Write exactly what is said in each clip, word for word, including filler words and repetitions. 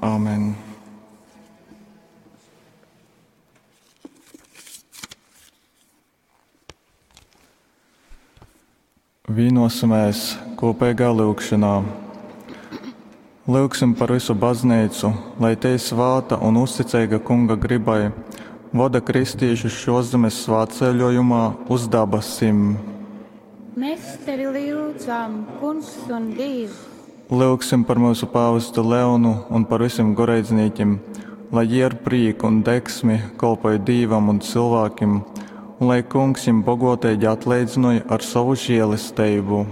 Āmen. Vīnosimies kopīgā lūgšanā. Lūgsim par visu baznīcu, lai tei svāta un uzticīga Kunga gribai voda kristīšus šoszemes svētceļojumā uz dabasim. Mēs tevi lūdzam, Kungs un Dievs. Lūgsim par mūsu pāvestu Leonu un par visiem goreidznīkiem, lai jie ar prieku un degsmi kolpoja Dīvam un cilvēkiem, un lai Kungs viņiem bogotīgi atleidzinoja ar savu žēlastību.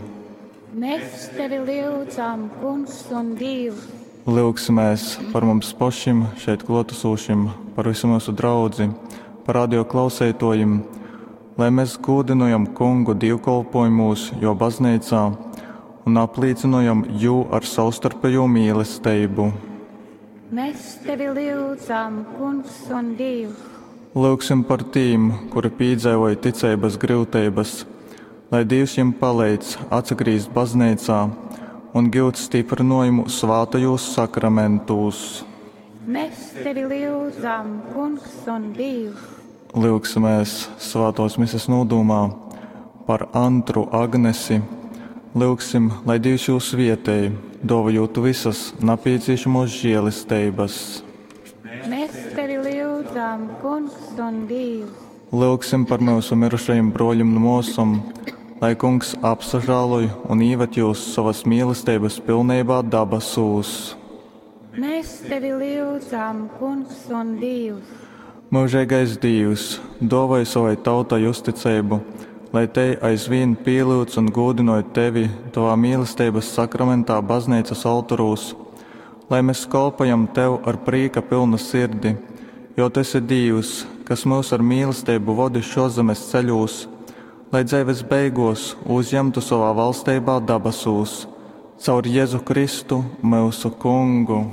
Mēs tevi lūdzam, Kungs un Dievs. Lūgsimies par mums pašiem, šeit klātesošiem, par visu mūsu draudzi, par radio klausētojiem, lai mēs gūdinojam Kungu dievkalpojumos, jo baznīcā, un apliecinojam jū ar savstarpējo mīlestību. Mēs tevi lūdzam, Kungs un Dievs. Lūgsim par tīm, kuri piedzīvoja ticības grūtības, lai Dievs jiem palīdz atsagrīzt baznīcā un gūt stiprinājumu svātajos sakramentūs. Mēs tevi lūdzam, Kungs un Dievs. Lūgsimies svētos mises nodomā par Antru Agnesi. Lūgsim, lai Dievs jūs vietēji, dāvājot visas nepieciešamos žēlestības. Mēs tevi lūdzam, Kungs un Dievs. Lūgsim par mūsu mirušajiem broļiem un māsām, lai Kungs apsažāloj un ieved jūs savas mīlestības pilnībā dabasūs. Mēs tevi lūdzam, Kungs un Dievs. Mūžīgais Dievs, dāvāj savai tautai uzticību, lai te aizvien pielūdz un gūdinoja tevi tavā mīlestības sakramentā baznīcas altarūs, lai mēs kalpojam tev ar prīka pilnu sirdi, jo tu esi Dievs, kas mūs ar mīlestību vodi šozemes ceļūs, lai dzīves beigos uzņemtu savā valstībā dabasūs, caur Jēzu Kristu, mūsu Kungu.